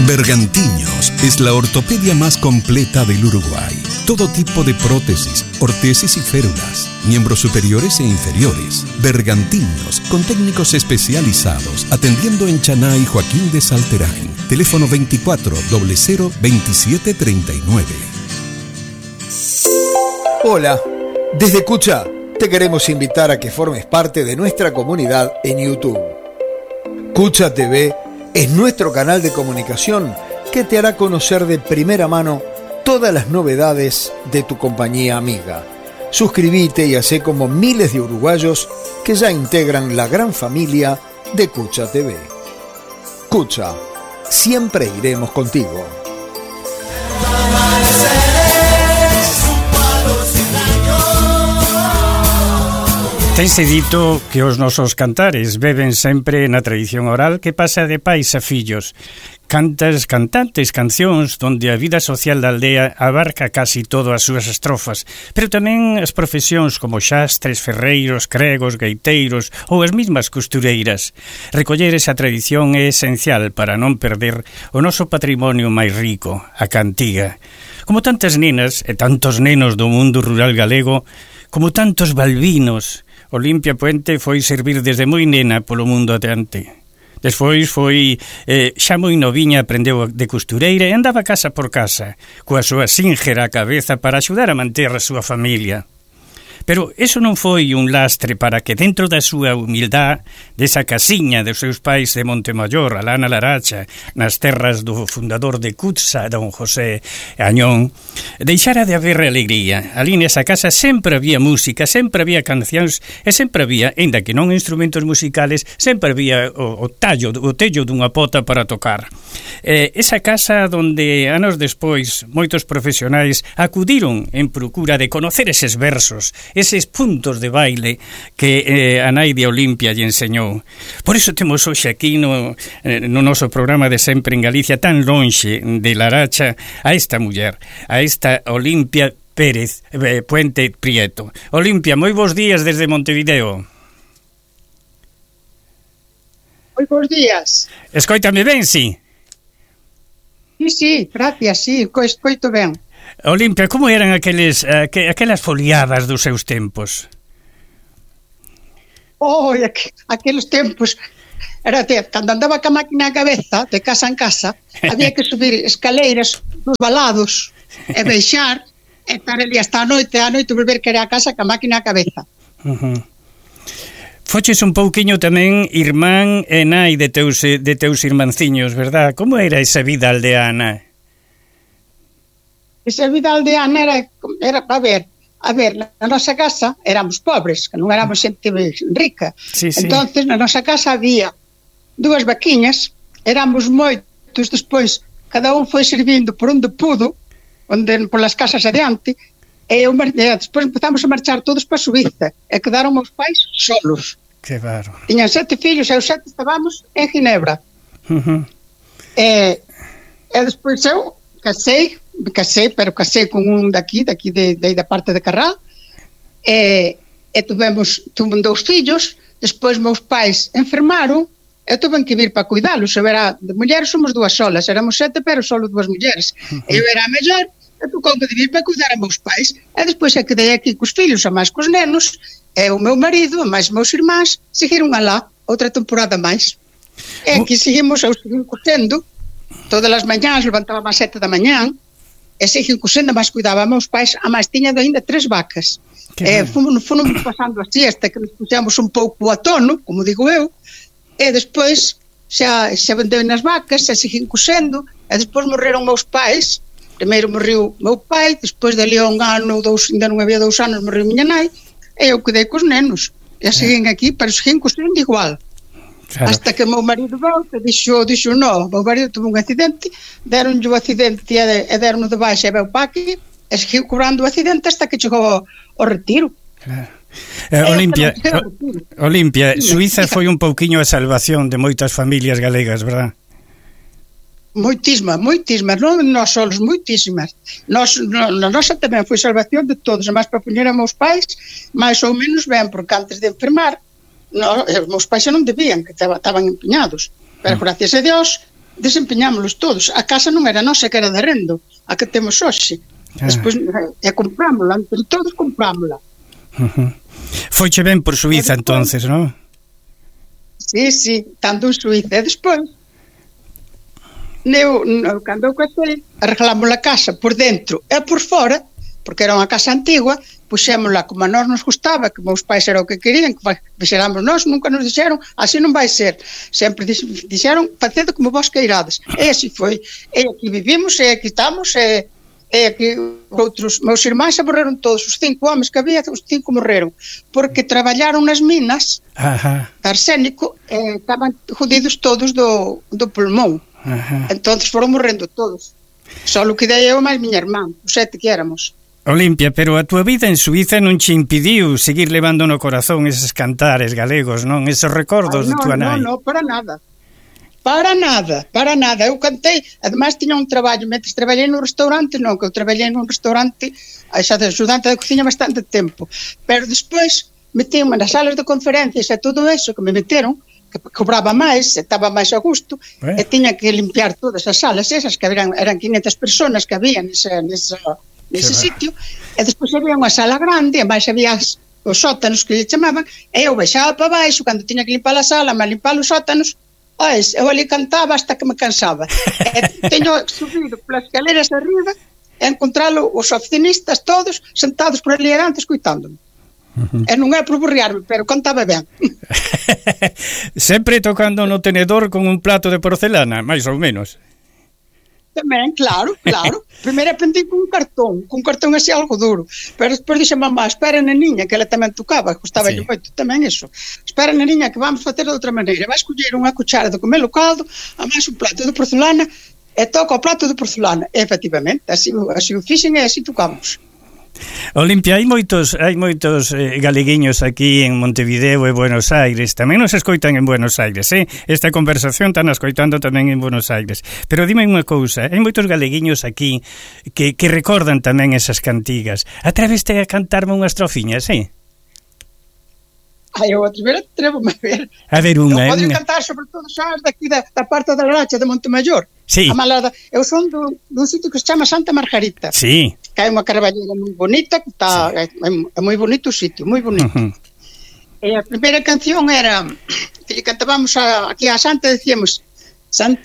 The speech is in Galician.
Bergantiños es la ortopedia más completa del Uruguay. Todo tipo de prótesis, ortesis y férulas, miembros superiores e inferiores. Bergantiños, con técnicos especializados, atendiendo en Chaná y Joaquín de Salterain. Teléfono 24 00 27 39. Hola, desde Cucha te queremos invitar a que formes parte de nuestra comunidad en YouTube. Cucha TV es nuestro canal de comunicación que te hará conocer de primera mano todas las novedades de tu compañía amiga. Suscríbete y hacé como miles de uruguayos que ya integran la gran familia de Cucha TV. Cucha, siempre iremos contigo. Tense dito que os nosos cantares beben sempre na tradición oral que pasa de pais a fillos. Cantas, cantantes, cancións donde a vida social da aldea abarca casi todo as súas estrofas, pero tamén as profesións como xastres, ferreiros, cregos, gaiteiros ou as mesmas costureiras. Recoller esa tradición é esencial para non perder o noso patrimonio máis rico, a cantiga. Como tantas nenas e tantos nenos do mundo rural galego, como tantos balbinos, Olimpia Puente foi servir desde moi nena polo mundo adiante. Despois foi, xa moi noviña, aprendeu de costureira e andaba casa por casa, coa súa sínxera cabeza para axudar a manter a súa familia. Pero eso non foi un lastre para que dentro da súa humildade, desa casiña dos seus pais de Montemayor, alá na Laracha, nas terras do fundador de Cutsa, don José Añón, deixara de haber alegría. Ali nesa casa sempre había música, sempre había cancións e sempre había, ainda que non instrumentos musicales, sempre había o tello dunha pota para tocar. Esa casa donde anos despois moitos profesionais acudiron en procura de conocer eses versos, eses puntos de baile que a nai de Olimpia lle enseñou. Por iso temos hoxe aquí no noso programa de sempre en Galicia, tan lonxe de Laracha, a esta muller, a esta Olimpia Pérez Puente Prieto. Olimpia, moi bons días desde Montevideo. Moi bons días. Escoítame ben, si? Sí, gracias, sí, escoito ben. Olimpia, como eran aquelas foliadas dos seus tempos? Aqueles tempos era cando andaba ca máquina a cabeza, de casa en casa, había que subir escaleiras nos valados e baixar e estar ali hasta a noite volver que era a casa ca máquina a cabeza. Foches un pouquiño tamén irmán e nai de teus irmanciños, verdad? Como era esa vida aldeana? Esa vida aldeana era a ver, na nosa casa éramos pobres, que non éramos xente rica. Sí. Entonces, na nosa casa había 2 vaquiñas, éramos moitos, despois cada un foi servindo por onde pudo, polas casas adiante, e despois empezamos a marchar todos para Suíza, e quedaron os pais solos. Que bárbaro. Tiñan 7 fillos, e os 7 estábamos en Ginebra. E despois eu casei con un daqui da parte de Carral, e tuvemos 2 fillos. Despois meus pais enfermaron e tuven que vir para cuidalos. Eu era de mulleres, somos 2 solas, éramos 7 pero solo 2 mulleres. Eu era a mellor e tocoume de vir para cuidar a meus pais, e despois é que dei aquí cos fillos, a máis cos nenos, e o meu marido, a máis meus irmáns seguiron alá outra temporada máis, e aquí seguimos, eu seguim cosendo todas as mañás, levantábamos ás 7 da mañá e seguim cosendo, máis cuidaba a meus pais, a máis tiña ainda 3 vacas. Fomos pasando así hasta que nos puxemos un pouco a tono, como digo eu, e despois xa vendeu nas vacas, xa seguim cosendo, e despois morreron meus pais. Primeiro morreu meu pai, despois dali a 1 ano ou 2, ainda non había 2 anos, morreu miña nai, e eu quedei cos nenos, e seguín aquí, pero seguín cosendo igual. Claro. Hasta que meu marido volta, dixo no, meu marido tuvo un accidente, deronlle o accidente e deron de baixa e veu para aquí, e seguiu cobrando o accidente hasta que chegou ao retiro. Claro. Olimpia, Suíza foi un pouquiño a salvación de moitas familias galegas, verdad? Moitísimas, non nós solos, moitísimas. Na nosa tamén foi salvación de todos, máis para poñer a meus pais máis ou menos ben, porque antes de enfermar os meus pais xa non debían, que estaban empeñados, pero gracias a Dios desempeñámoslos todos. A casa non era nosa, que era de rendo, a que temos hoxe. Despois comprámola, entre todos comprámola. Foiche ben por Suiza entonces, non? Sí, tanto en Suiza. E despois cando eu casei, arreglamos a casa por dentro e por fora, porque era unha casa antigua, puxémola como a nós nos gustaba, que meus pais era o que querían, que fixéramos nós, nunca nos dixeron, así non vai ser. Sempre dixeron, facedo como vos queirades. E así foi. E aquí vivimos, e aquí estamos, e aquí outros, meus irmáns se morreron todos, os 5 homens que había, os 5 morreron, porque traballaron nas minas de arsénico, e estaban jodidos todos do pulmón. Entonces foron morrendo todos. Só o que dei eu máis miña irmán, os 7 que éramos. Olimpia, pero a túa vida en Suiza non che impediu seguir levando no corazón eses cantares galegos, non? Eses recordos de túa nai. Non, para nada. Para nada. Eu cantei, ademais tiña un traballo, mentre traballei no restaurante, non, que eu traballei nun restaurante, xa de ajudante de cociña bastante tempo, pero despois metíame nas salas de conferencias e todo eso que me meteron, que cobraba máis, estaba máis a gusto, e tiña que limpiar todas as salas esas, que eran 500 personas que había nese sitio, e despois había unha sala grande, e máis había os sótanos que lle chamaban, e eu baixaba para baixo, cando tiña que limpar a sala, máis limpar os sótanos, eu ali cantaba hasta que me cansaba. E teño subido polas escaleras arriba e encontralo os oficinistas todos sentados por ali adiante escuitándome. E non é por burriarme, pero cantaba ben. Sempre tocando no tenedor con un plato de porcelana, máis ou menos. Tamén, claro. Primeiro aprendi con un cartón así algo duro, pero despois dixe mamá, espera na niña, que ela tamén tocaba, gustaba moito tamén iso. Espera na niña que vamos facer de outra maneira, vai escoller unha cuchara de comer o caldo, a máis un plato de porcelana, e toca o plato de porcelana. E, efectivamente, así o fixen e así tocamos. Olimpia, hai moitos galeguiños aquí en Montevideo e Buenos Aires. Tamén nos escoitan en Buenos Aires, Esta conversación están escoitando tamén en Buenos Aires. Pero dime unha cousa, hai moitos galeguiños aquí que recordan tamén esas cantigas. Atreveste a cantarme unha estrofiña, Eu atrevo-me a ver. A ver unha. Eu podo cantar sobre todo xa daqui da parte da Racha de Montemayor. Sí. Eu son dun sitio que se chama Santa Margarita. Sí. Que hai unha carballeira moi bonita, que está é moi bonito o sitio, moi bonito. E a primeira canción era que lle cantábamos aquí a Santa, decíamos: Santa